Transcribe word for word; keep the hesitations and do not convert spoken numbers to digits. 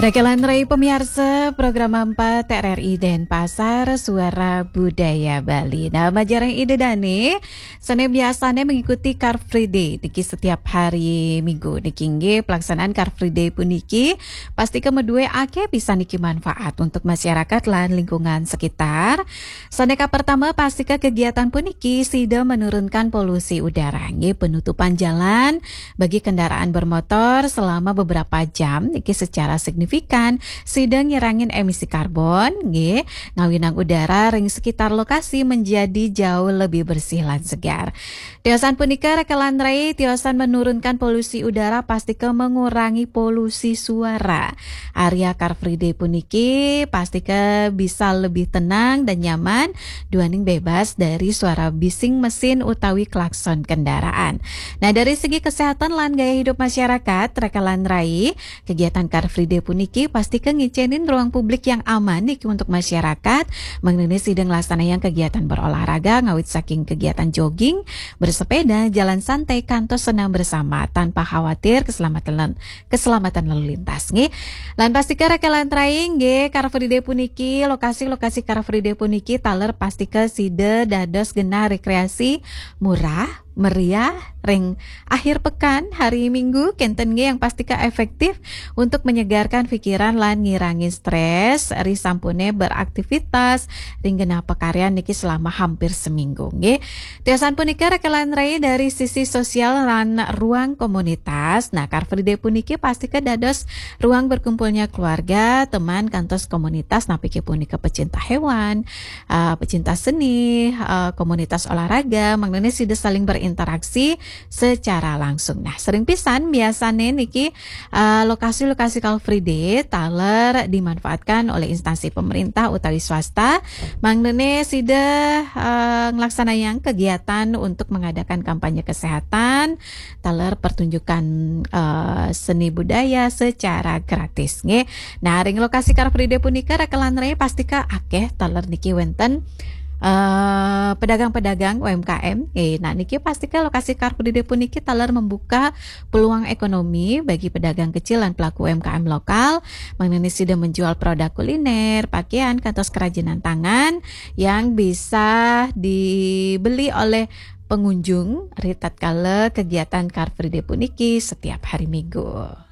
Rekelan Rai pemiarsa program empat R R I Denpasar, Suara Budaya Bali. Nah, majarang Ida Dane, sane biasane mengikuti Car Free Day niki setiap hari Minggu. Niki inggih pelaksanaan Car Free Day puniki pasti ke medue ake bisa niki manfaat untuk masyarakat lan lingkungan sekitar. Sane ka pertama, pasti ke kegiatan puniki sida menurunkan polusi udara. Nggih, penutupan jalan bagi kendaraan bermotor selama beberapa jam niki secara signifikan sida ngirangin emisi karbon, nggih, ngawinang udara ring sekitar lokasi menjadi jauh lebih bersih lan segar. Tiosan punika rekelan rai, tiosan menurunkan polusi udara, pasti ke mengurangi polusi suara. Area Car Free Day puniki pasti ke bisa lebih tenang dan nyaman, duaning bebas dari suara bising mesin utawi klakson kendaraan. Nah, dari segi kesehatan lan gaya hidup masyarakat, rekelan rai, kegiatan Car Free Day puniki pasti ke ngicenin ruang publik yang aman niki untuk masyarakat, mangdane sida nglaksanayang kegiatan berolahraga ngawit saking kegiatan jogging, bersepeda, jalan santai, kantos senam bersama tanpa khawatir keselamatan lan-, keselamatan lalu lintas, nggih. Lan pasti ke rekelan rai, nggih, Car Free Day puniki, lokasi-lokasi Car Free Day puniki taler pasti ke sida dados genah rekreasi murah, meriah, ring akhir pekan, hari Minggu, kenten nggih yang pasti ke efektif untuk menyegarkan pikiran lan ngirangi stres, ri sampune beraktivitas ring genah pakaryan niki selama hampir seminggu, nggih. Tiosan punika rekelan rai dari sisi sosial lan ruang komunitas. Nah, Car Free Day puniki pasti ke dados ruang berkumpulnya keluarga, teman, kantos komunitas, napi ke punika pecinta hewan, eh, pecinta seni, eh, komunitas olahraga, mangdane sida saling berinteraksi secara langsung. Nah, sering pisan biasane niki, eh, lokasi-lokasi Car Free Day taler dimanfaatkan oleh instansi pemerintah utawi swasta. Mangdane sida, eh, nglaksanayang kegiatan untuk mengadakan kampanye kesehatan, taler pertunjukan, eh, seni budaya secara gratis, nggih. Nah, ring lokasi Car Free Day punika rekelan rai pasti ke akeh taler niki wenten, eh, pedagang-pedagang U M K M. Eh, nah, niki pasti ke lokasi Car Free Day puniki taler membuka peluang ekonomi bagi pedagang kecil dan pelaku U M K M lokal, mangdane sida menjual produk kuliner, pakaian, kantos kerajinan tangan yang bisa dibeli oleh pengunjung ri tatkala kegiatan Car Free Day puniki setiap hari Minggu.